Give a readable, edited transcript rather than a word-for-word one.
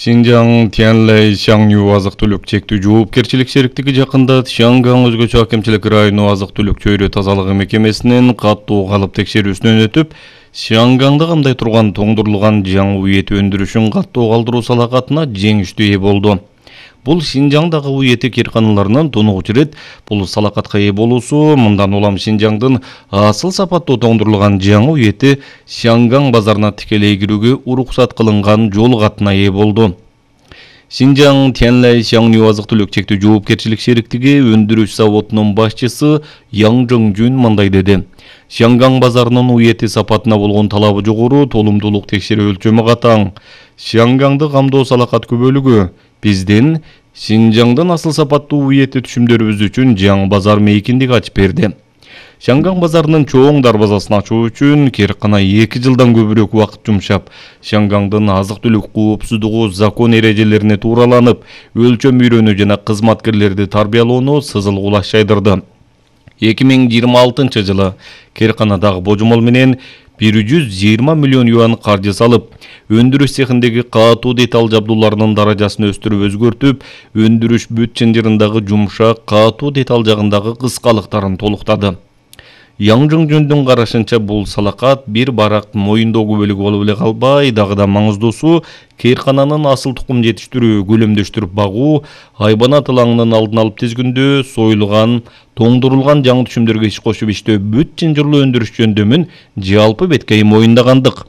Шинжаң Тяньлай Шаңню азык-түлүк чектүү жоопкерчилик шериктиги жакында Шаңгаң өзгөчө акимчилик району азык-түлүк чөйрө тазалыгы мекемесинин каттуу калып текшерүүсүнөн өтүп, Шаңгаңда кандай турган тоңдурулган жаңы эт өндүрүшүн каттуу калтыруу салакатына жеңиштүү ээ болду. Бул Шинжаңдагы эти кирканаларынын тунугучу ирет бул салакатка ээ болуусу, мындан улам Шинжаңдын асыл сапаттуу тоңдурулган жаңы эти Шаңгаң базарына тикелей кирүүгө уруксат кылынган жол катына ээ болду. Шинжаң Тяньлай Шаңню азык-түлүк чектүү жоопкерчилик шериктиги өндүрүш заводунун башчысы Яң Жоңжун мындай деди. Шаңгаң базарынын эти сапатына болгон талабы жогору, толумдуулук текшерүү өлчөмү катаң. Шаңгаңды камдоо салакат көбөлүгү. Биздин Шинжаңдын асыл сапаттуу эти түшүмдөрүбүз үчүн жаңы базар мейкиндик ачып берди. Шаңгаң базарынын чоң дарбазасын ачуу үчүн киркана 2 жылдан көбүрөөк убакыт жумшап, Шаңгаңдын азык-түлүк коопсуздугу закон эрежелерине туураланып, өлчөм үйрөнүү жана кызматкерлерди тарбиялоону сызыл кулаш жайдырды. 2026 жылы кирканадагы божомол менен 120 миллион юан каржы салып, өндүрүш цехиндеги катуу деталь жабдууларынын даражасын өстүрүп өзгөртүп, өндүрүш бүт чынжырындагы жумшак катуу деталь жагындагы кыскалыктарын толуктады. Яң Жоңжундун карашынча бул салакат бир барак моюндоо көбөлүгү болуп эле калбай, дагы да маңыздуусу киркананын асыл тукум жетиштирүү, көлөмдөштүрүп багуу, айбанат ылаңынын алдын алып тизгүндөө, союлган, тоңдурулган жаңы түшүмдөргө иш кошуп иштөө бүт чынжырлуу өндүрүш жөндөмүн жалпы беткей моюндагандык.